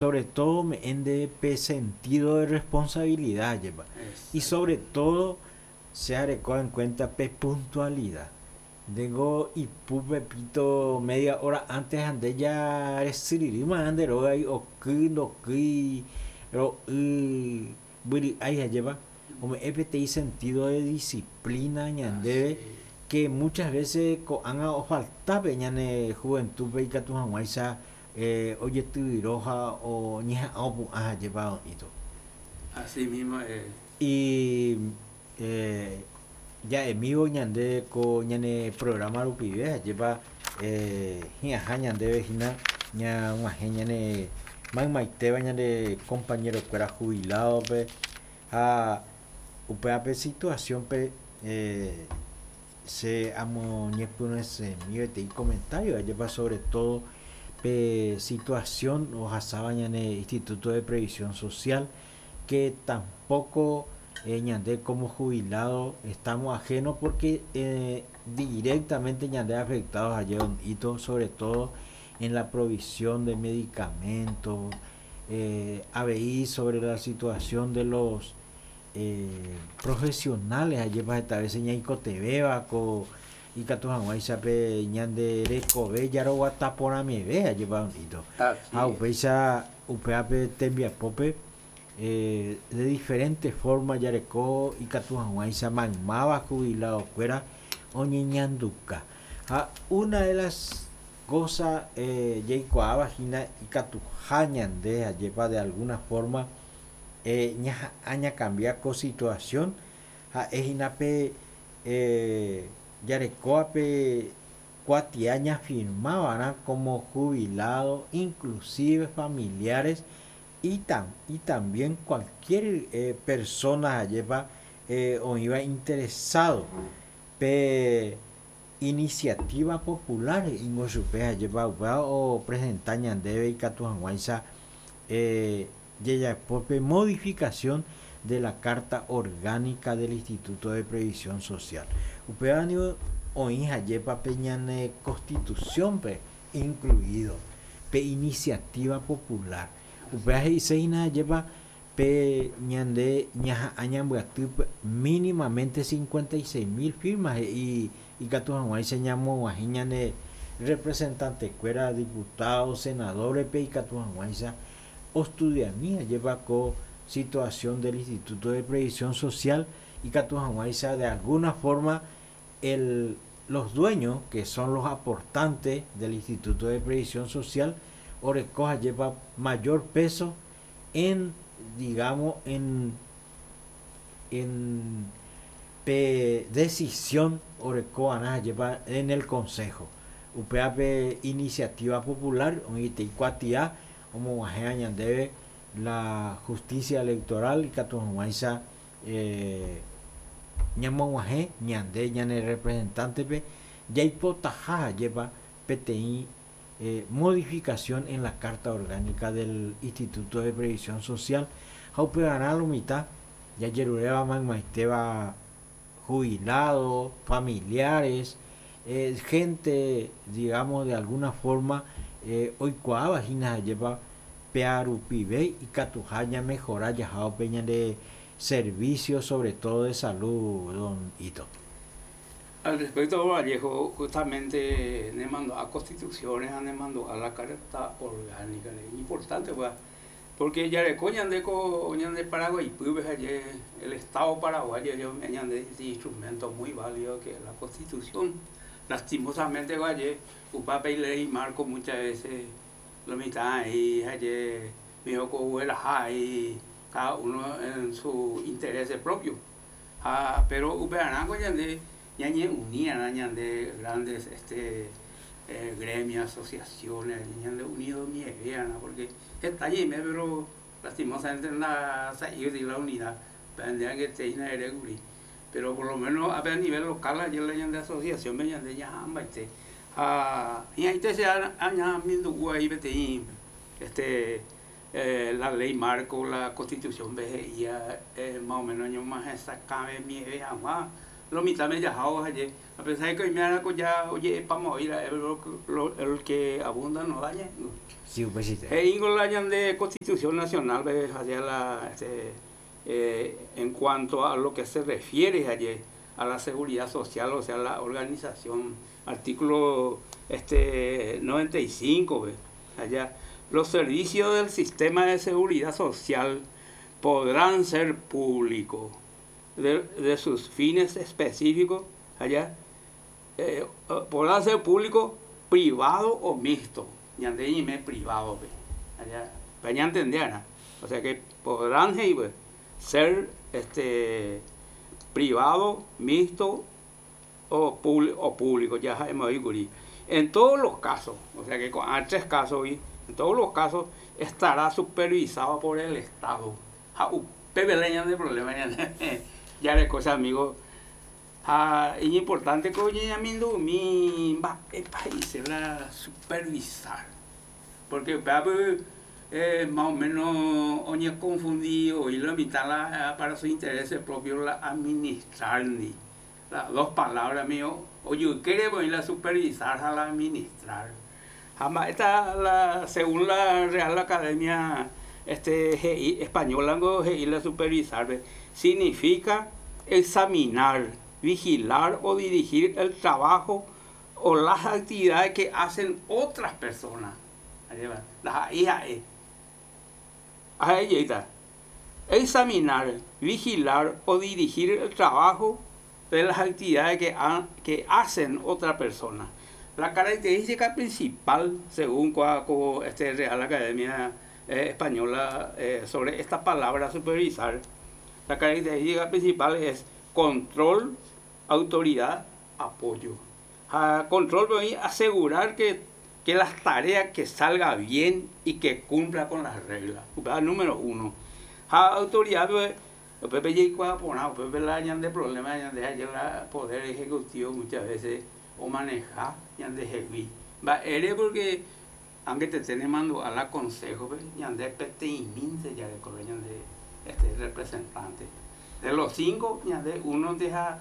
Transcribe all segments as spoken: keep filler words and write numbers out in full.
Sobre todo ome'ẽ pe sentido de responsabilidad jepa. Y sobre todo se areko en cuenta pe puntualidad. Ndéngo ipu pepito media hora antes ha nde ja resyryrýma nde rógagui oky ndokýi ro'y mbyry'ái ajépa ome'ẽ peteĩ sentido de disciplina ñandéve que muchas veces ko'ág̃a ofalta ñane juventud-pe ikatu hag̃uáicha eh, ojetyvyro ha oñeha'ã opu'ã ajépa oĩto. Así mismo es. Y eh, ja'emívo ñande ko ñane programa rupive ajépa eh, hi'ãha ñandéve hína ñag̃uahẽ ñane maymaitéva ñane compañero-kuéra jubilado-pe ha upévape situación-pe eh, che amoñepyrũsemi peteĩ comentario ajépa sobre todo pe situación ohasáva ñane Instituto de Previsión Social, que tampoco eh, ñande como jubilado estamos ajenos porque eh, directamente ñande afectados allí hito sobre todo en la provisión de medicamentos, eh, avei sobre la situación de los eh, profesionales ajépa heta veces ñaikotevẽva ko ikatu hag̃uáicha pe ñande rekove jaroguata porãmieve ajépa hito ha upéicha upévape tembiapópe eh, de diferentes formas jareko ikatu hag̃uáicha maymáva jubilado-kuéra oñeñanduka ha una de las cosas eh, jaikuaáva hína ikatuha ñande ajépa de alguna forma eh, ñaha'ã ñacambia ko situación ha'e hína pe eh, jarekóvape kuatia ñafirmava'erã como jubilado inclusive familiares y, tam, y también cualquier eh, persona ajépa eh, oĩva interesado pe iniciativa popular ingo chupe ajépa upéva opresenta ñandéve ikatu hag̃uáicha eh, jejapópe modificación de la Carta Orgánica del Instituto de Previsión Social. Upéva niko oĩ ajépa pe ñane Constitución-pe incluido pe iniciativa popular. Upéva he'iséhína ajépa pe ñande ñaha'ã ñambyaty mínimamente cincuenta y seis mil firmas he'i ikatu hag̃uáicha ñamog̃uahẽ ñane representante-kuéra, diputados, senadores-pe ikatu hag̃uáicha ostudiami ajépa ko situación del Instituto de Previsión Social ikatu hag̃uáicha de alguna forma el, los dueños que son los aportantes del Instituto de Previsión Social oreko ajépa mayor peso en, digamos, en, en pe decisión oreko ajépa en el Consejo. Upéva pe iniciativa popular oĩtei kuatia omog̃uahẽ ñandéve la justicia electoral ikatu hag̃uáicha eh, ñamog̃uahẽ ñande ñane representante-pe jaipotaha ajépa peteĩ eh, modificación en la Carta Orgánica del Instituto de Previsión Social ha upevarã lo mitã jajeruréva maymaitéva jubilados, familiares, eh, gente, digamos, de alguna forma eh, oikuaáva hína ajépa pearupive ikatuha ñamejora jahápe ñande servicio sobre todo de salud, don Ito. Al respecto, Vallejo, justamente ne mandó a constituciones, ne mandó a la Carta Orgánica, es importante, pues, porque ya de coña de de Paraguay, pues, el Estado paraguayo, yo me este instrumento muy válido que es la Constitución. Lastimosamente, Valle, upape y ley marco muchas veces lo mitad ahí, ayer, me dijo ahí, cada uno en su interés propio. Ah, pero upearán de ñañe unía de grandes este, eh, gremios, asociaciones, ñande unido mi porque está allí, pero lastimosamente en la de la unidad, que pero por lo menos a nivel local, ayer la de asociación, me de ya ah, y ahí te se ahí este eh, la ley marco, la constitución veía eh, más o menos más esa cabe mi agua Lo mitad me yajao ayer. A pesar de que hoy me han ya oye vamos a ir a el que abunda no daña. Sí, pues sí. Eh, la de Constitución Nacional, hacia la, este, eh, en cuanto a lo que se refiere ayer a la seguridad social, o sea, la organización, artículo este, noventa y cinco, ¿ve? Allá, los servicios del sistema de seguridad social podrán ser públicos de, de sus fines específicos, allá, eh, podrán ser público, privado o mixto. Ñande privado, ¿ve? Allá, para ya entender, ¿no? O sea que podrán hey, ser este, privado, mixto o, o público, ya hemos dicho. En todos los casos, o sea que con tres casos, en todos los casos estará supervisado por el Estado. De problema, ya de cosas, amigos. Ah, es importante que oye, mi va país la supervisar, porque eh, más o menos oye confundido y la mitad la, para sus intereses propios la administrar ni las dos palabras mío, oye quiere ir a supervisar a la administrar. Jamás esta la según la Real Academia este G I española G I la supervisar significa examinar, vigilar o dirigir el trabajo o las actividades que hacen otras personas. Ahí va, las I A E. Ahí está. Examinar, vigilar o dirigir el trabajo de las actividades que, ha, que hacen otras personas. La característica principal, según este Real Academia eh, Española, eh, sobre esta palabra supervisar, la característica principal es control, autoridad, apoyo. A control, voy a asegurar que, que las tareas que salga bien y que cumpla con las reglas. Número uno. A autoridad, pues, de problema de poder ejecutivo muchas veces o manejar de va ere porque aunque te estén mando a la consejo, de ya de este representante. De los cinco, de uno deja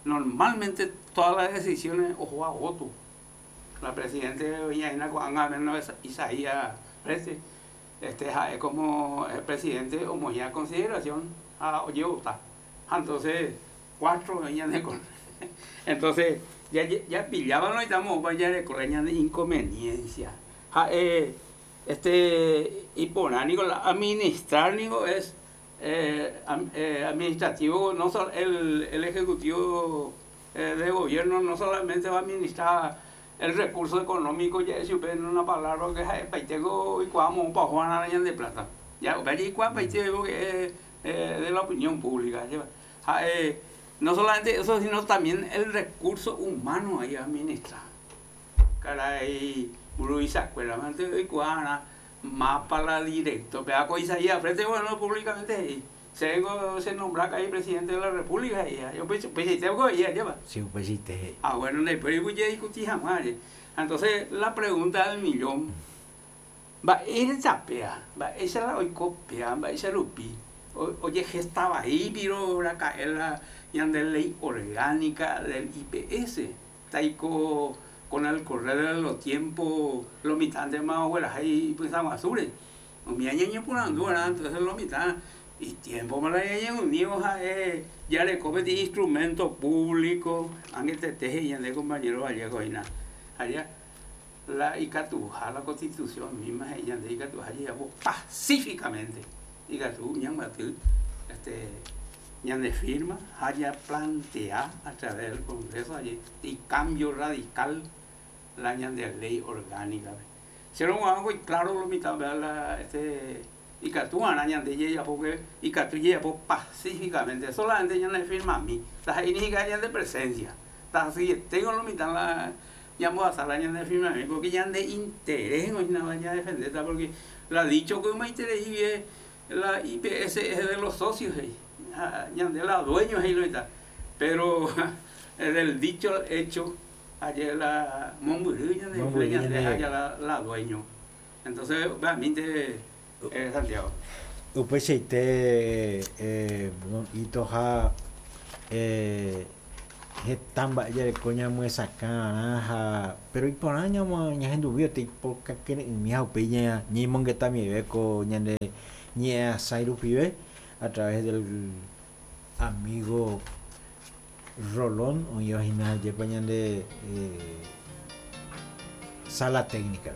normalmente todas las decisiones ojo a voto. La presidenta Isaías este, este es como el presidente o ya consideración a oye votar. Entonces, cuatro de con entonces ya ya pillaban no estamos vaya de correña de inconveniencia. Ja, eh, este y por administrar nigo es Eh, eh, administrativo, no solo el, el ejecutivo eh, de gobierno no solamente va a administrar el recurso económico, ya si usted en una palabra que es tengo y cuando para Juan Araña de plata, ya y porque es eh, de la opinión pública, ya, eh, no solamente eso, sino también el recurso humano ahí administrar. Caray, Luisa, y mapa la directo, pero con Isaías frente, bueno, públicamente se, se nombra que hay presidente de la República y yo pues pues tengo que ir lleva. Sí, pues sí te. Ah, bueno, después voy a discutir jamás. Entonces, la pregunta del millón va ir zapea, va esa la hoy copia, va esa lupi. Oye, que estaba ahí, pero la caer la de ley orgánica del I P S. Taico con el correr de los tiempos, los mitad más abuelas ahí pensamos azures. Mi año por andura, entonces los mitad y tiempo me la unidos a ya le come de instrumento público, aunque te teje y ande compañero Vallejo y nada. Allá la Icatuja, la constitución misma, ella de Icatuja llegó pacíficamente. Icatú, ñanguatil, este, ñande firma, haya plantea a través del Congreso allí, y cambio radical la ñande ley orgánica. Se lo hago y claro lo mitad, la, este, Icatú, ñande llega porque Icatú llega pacíficamente, solamente ñande firma a mí, las inígicas de presencia. Así tengo lo mitad la llamo a sala de firma a mí, porque ya de interés no vaya a defender, porque la dicho que me interés y la I P S es de los socios, ya de la dueños y lo está. Pero del dicho al hecho, ayer la Momburí, de la, la dueño. Entonces, realmente, eh, Santiago. Usted se te eh, don Itoja eh, Heta mba'e jareko ñamyesakãrã ha pero iporã ñahenduvi oipokakyre'ỹmi ha upéi ñañemongetamive ko ñane ñe'ẽasãi rupive a través del amigo Rolón oĩva hína jepa ñande eh, sala técnica.